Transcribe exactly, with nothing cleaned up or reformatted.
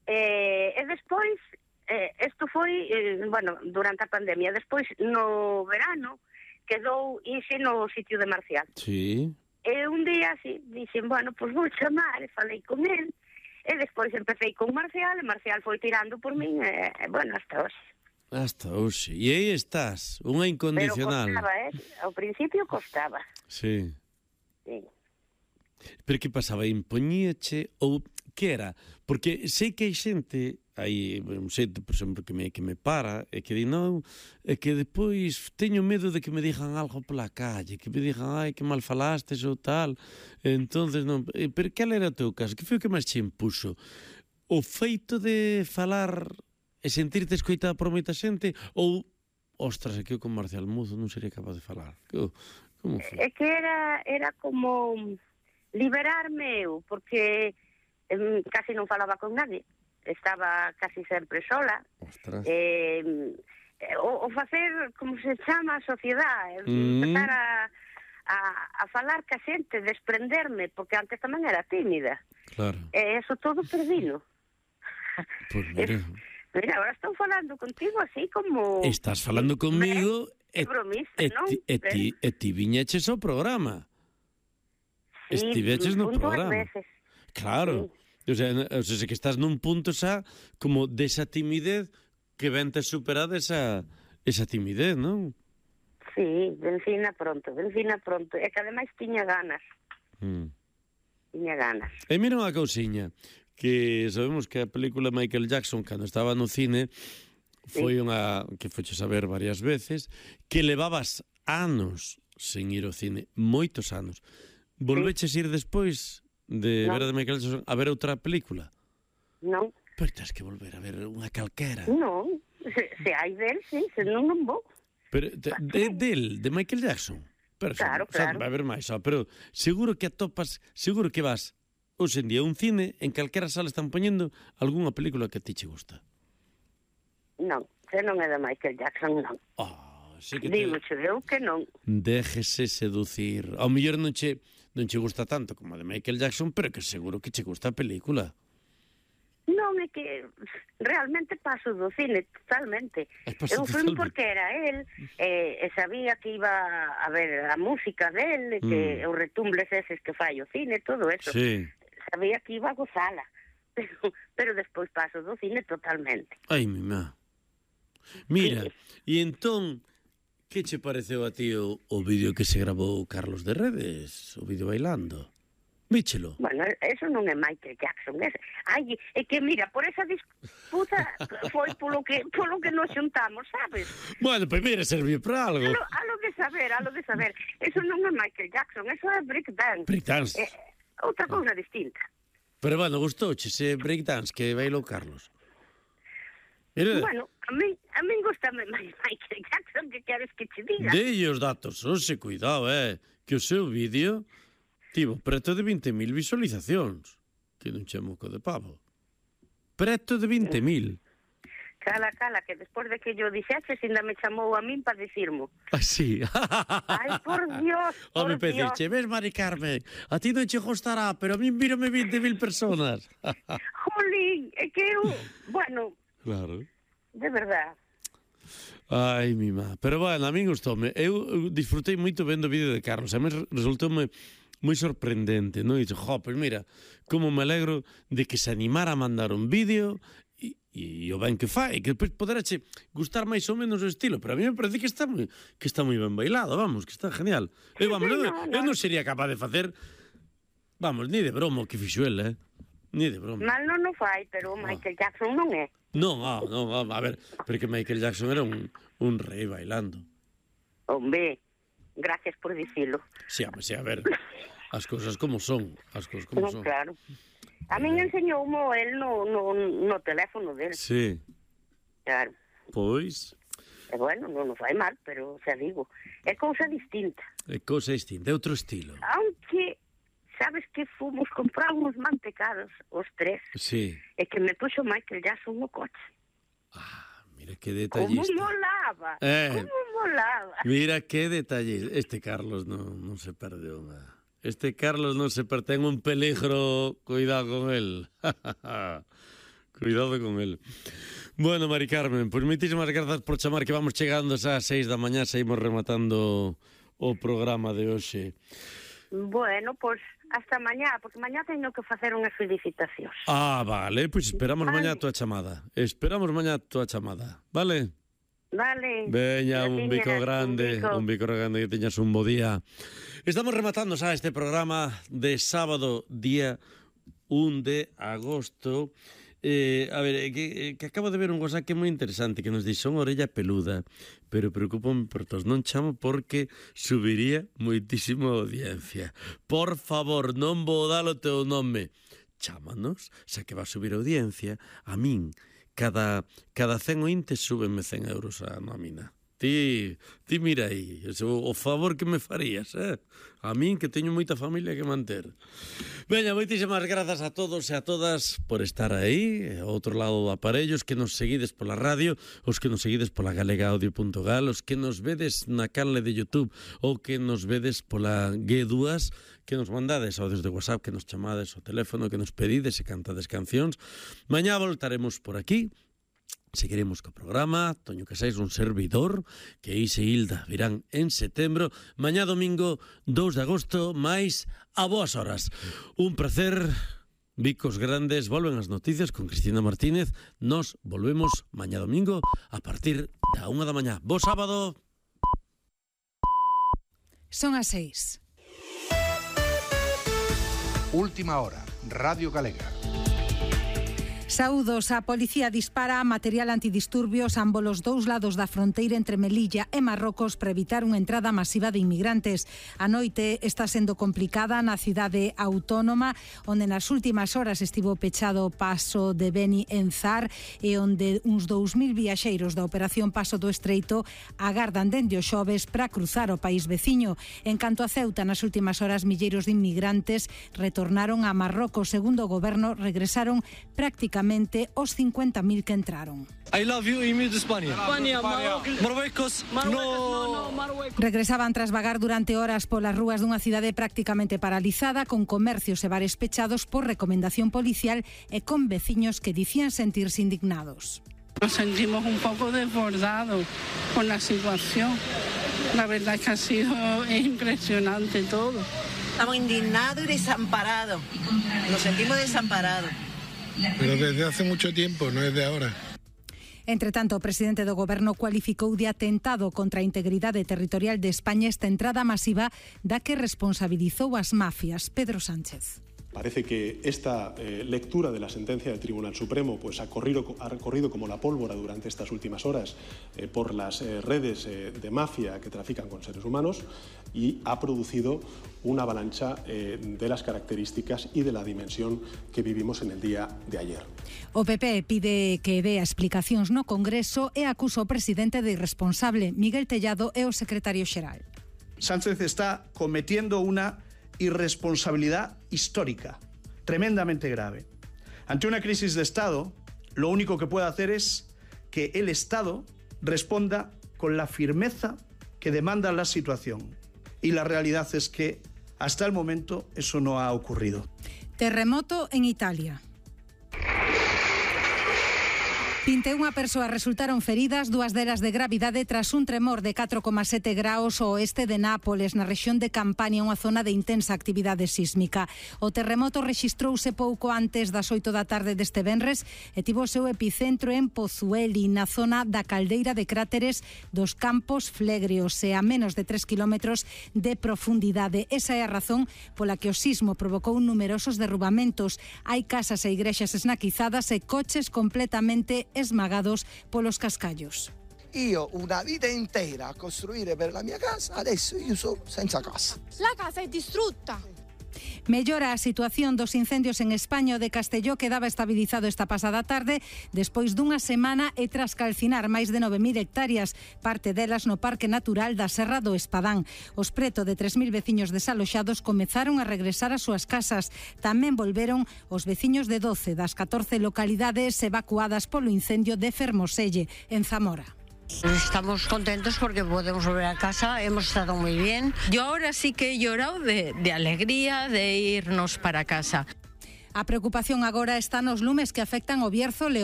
Eh, e despois, eh, isto foi, eh, bueno, durante a pandemia, despois no verano quedou Inxe no sitio de Marcial. Sí. E un día así, dixen, bueno, pois vou chamar, e falei con el, e despois empecé con Marcial, e Marcial foi tirando por min, e, e bueno, hasta hoxe. Hasta hoxe. E aí estás, unha incondicional. Pero costaba, eh? Ao principio costaba. Sí. Sí. Pero que pasaba? Impoñíache ou que era? Porque sei que hai xente, hai un xente, por exemplo, que me, que me para e que di, non, e que depois teño medo de que me digan algo pola calle, que me digan, ai, que mal falastes ou tal. Entonces non, pero que era o teu caso? Que foi o que máis che impuso? O feito de falar e sentirte escoitada por moita xente ou, ostras, é que eu con Marcial Muzo non sería capaz de falar? Que, como foi? É que era, era como liberarme eu, porque eh, casi non falaba con nadie, estaba casi sempre sola. Ostras. Eh, o, o facer, como se chama, a sociedade, Mm. empezar a, a, a falar ca xente, desprenderme, porque antes tamén era tímida. Claro. E eso todo perdino. Pois mira. Mira, ahora estou falando contigo así como... Estás falando comigo É bromista, e, non? ti, e, ti, e ti viñeches ao programa. Sí, Estiveches no un dúas programa. veces. Claro. O sea, o sea, que estás nun punto xa como desa timidez que vente superada esa, esa timidez, non? Sí, vencina pronto, vencina pronto. E que ademais tiña ganas. Mm. Tiña ganas. E mira unha cousiña, que sabemos que a película Michael Jackson, cando estaba no cine, foi unha que foches a ver varias veces, que levabas anos sen ir ao cine, moitos anos. Volveches ir despois de No. ver a de Michael Jackson a ver outra película? Non, Pero tens que volver a ver unha calquera. non. Se, se hai del, sí, se non, non vou. Pero de, de, del, de Michael Jackson. Pero Claro, xa, xa claro. vai haber máis, xa, pero seguro que atopas, seguro que vas hoxe en día a un cine, en calquera sala están poñendo algunha película que a ti che gusta. Non, se non é de Michael Jackson, non. Ah, sí que te... Digo che eu que non. Déjese seducir. Ao mellor non che, non che gusta tanto como a de Michael Jackson, pero que seguro que che gusta a película. Non, é que realmente paso do cine totalmente. Ai, paso Eu fui totalmente. porque era él, e, e sabía que iba a ver a música del, e que Mm. os retumbles eses que fai o cine, todo eso. Sí. Sabía que iba a gozala. Pero, pero despois paso do cine totalmente. Ai, mi má. Mira, e entón, que che pareceu a ti o, o vídeo que se grabou Carlos de Redes? O vídeo bailando? Víchelo? Bueno, eso non é Michael Jackson. É, ai, é que mira, por esa disputa foi polo que polo que nos xuntamos, sabes? Bueno, pois mira, serviu para algo. A lo, a lo de saber, a lo de saber. Eso non é Michael Jackson, eso é breakdance. Breakdance. É outra cousa distinta. Pero bueno, gustouche ese breakdance que bailou Carlos. Mira, Bueno, a mí, a mí gustame máis Michael Jackson, que queres que te diga? dei os datos, oxe, cuidado, eh, que o seu vídeo tivo preto de vinte mil visualizacións, que non che moco de pavo. Preto de vinte mil. Cala, cala, que despois de que yo dixeches, ainda me chamou a min para dicirmo. Así. Ai, por Dios, por Home, Dios. pediche, ves, Mari Carmen, a ti non che gustará, pero a mí mírame vinte mil personas. Jolín, é que eu, bueno, Claro. de verdad. Ai, mi má. Pero, bueno, a min gustoume. Eu eu disfrutei moito vendo o vídeo de Carlos. A mí resultoume moi sorprendente, non? E dixo, jo, pois mira, como me alegro de que se animara a mandar un vídeo e, e o ben que fai, que depois poderache gustar máis ou menos o estilo, pero a mí me parece que está moi que está moi ben bailado, vamos, que está genial. Eu, vamos, eu, no, eu no. non sería capaz de facer, vamos, ni de broma o que fixo el, eh? Ni de broma. Mal non o fai, pero o Michael Jackson non é. Non, ah, non, ah, a ver, porque Michael Jackson era un, un rei bailando. Hombre, gracias por dicilo. Sí, a, sí, a ver, as cousas como son, as cousas como No, son. claro. A min enseñoumo el no, no, no teléfono del. Sí, Claro. pois, E bueno, non o fai mal, pero xa digo, é cousa distinta. é cousa distinta, é outro estilo. Aunque, sabes que fomos comprar uns mantecados, os tres, Sí. e que me puxo Michael Jackson no coche. Ah, mira que Como detallista. molaba, Eh. como molaba. Mira que detalle. Este Carlos non, non se perde unha. Este Carlos non se perde, ten un peligro, cuidado con él. Cuidado con él. Bueno, Mari Carmen, pois moitísimas grazas por chamar, que vamos chegando xa ás seis da mañá, seguimos rematando o programa de hoxe. Bueno, pois hasta mañá, porque mañá teño que facer unhas felicitacións. Ah, vale, pois esperamos vale. mañá a túa chamada. Esperamos mañá a túa chamada, vale? Vale. Veña, un bico grande, un bico. un bico grande, que teñas un bo día. Estamos rematando xa este programa de sábado, día un de agosto. Eh, a ver, que, que acabo de ver un cosa que é moi interesante, que nos dixo unha orella peluda, pero preocúpame por todos, non chamo porque subiría moitísimo a audiencia. Por favor, non vou dar o teu nome. Chámanos, xa que va a subir a audiencia, a min, cada, cada cen ointes súbenme cen euros a nómina. Ti, ti mira aí, o, o favor que me farías, eh? A min que teño moita familia que manter. Veña, moitísimas grazas a todos e a todas por estar aí, ao outro lado do aparello, os que nos seguides pola radio, os que nos seguides pola galega audio punto gal, os que nos vedes na canle de YouTube ou que nos vedes pola G dúas, que nos mandades audios de WhatsApp, que nos chamades ao teléfono, que nos pedides e cantades cancións. Mañá voltaremos por aquí. Seguiremos co programa, Toño Casais, un servidor, que Ise e Hilda virán en setembro. Mañá domingo, dous de agosto, máis a boas horas. Un placer, bicos grandes, volven as noticias con Cristina Martínez. Nos volvemos mañá domingo a partir da unha da mañá. Bo sábado. Son as seis. Última hora, Radio Galega. Saúdos, a policía dispara material antidisturbios ambos os dous lados da fronteira entre Melilla e Marrocos para evitar unha entrada masiva de inmigrantes. A noite está sendo complicada na cidade autónoma, onde nas últimas horas estivo pechado o paso de Beni en Zar e onde uns dous mil viaxeiros da operación Paso do Estreito agardan dende o xoves para cruzar o país veciño. En canto a Ceuta, nas últimas horas milleiros de inmigrantes retornaron a Marrocos. Segundo o goberno, regresaron prácticamente os cincuenta mil que entraron. I love you, Emir de España. España, Marruecos. No. Regresaban tras vagar durante horas polas rúas dunha cidade prácticamente paralizada, con comercios e bares pechados por recomendación policial e con veciños que dicían sentirse indignados. Nos sentimos un poco desbordados con la situación. La verdad es que ha sido impresionante todo. Estamos indignados y desamparados. Nos sentimos desamparados. Pero desde hace mucho tiempo, no es de ahora. Entre tanto, o presidente do goberno cualificou de atentado contra a integridade territorial de España esta entrada masiva da que responsabilizou as mafias. Pedro Sánchez. Parece que esta eh, lectura de la sentencia del Tribunal Supremo pues, ha, corrido, ha corrido como la pólvora durante estas últimas horas eh, por las eh, redes eh, de mafia que trafican con seres humanos y ha producido una avalancha eh, de las características y de la dimensión que vivimos en el día de ayer. O P P pide que dé explicacións no Congreso e acusa o presidente de irresponsable. Miguel Tellado é o secretario xeral. Sánchez está cometiendo una irresponsabilidad histórica, tremendamente grave. Ante una crisis de Estado, lo único que puede hacer es que el Estado responda con la firmeza que demanda la situación. Y la realidad es que hasta el momento eso no ha ocurrido. Terremoto en Italia. vinte e unha persoas resultaron feridas, dúas delas de gravidade tras un tremor de catro coma sete graus ao oeste de Nápoles, na rexión de Campania, unha zona de intensa actividade sísmica. O terremoto rexistrouse pouco antes das oito da tarde deste venres e tivo o seu epicentro en Pozueli, na zona da caldeira de cráteres dos Campos Flegrios e a menos de tres kilómetros de profundidade. Esa é a razón pola que o sismo provocou numerosos derrubamentos. Hai casas e igrexas esnaquizadas e coches completamente esmagados polos cascallos. Io una vita intera a costruire per la mia casa, adesso io sono senza casa. La casa è distrutta. Mellora a situación dos incendios en España. O de Castelló quedaba estabilizado esta pasada tarde despois dunha semana e tras calcinar máis de nove mil hectáreas, parte delas no Parque Natural da Serra do Espadán. Os preto de tres mil veciños desaloxados comezaron a regresar ás súas casas. Tamén volveron os veciños de doce das catorce localidades evacuadas polo incendio de Fermoselle, en Zamora. Estamos contentos porque podemos volver a casa, hemos estado muy bien. Yo ahora sí que he llorado de, de alegría de irnos para casa. A preocupación agora está nos lumes que afectan o Bierzo, León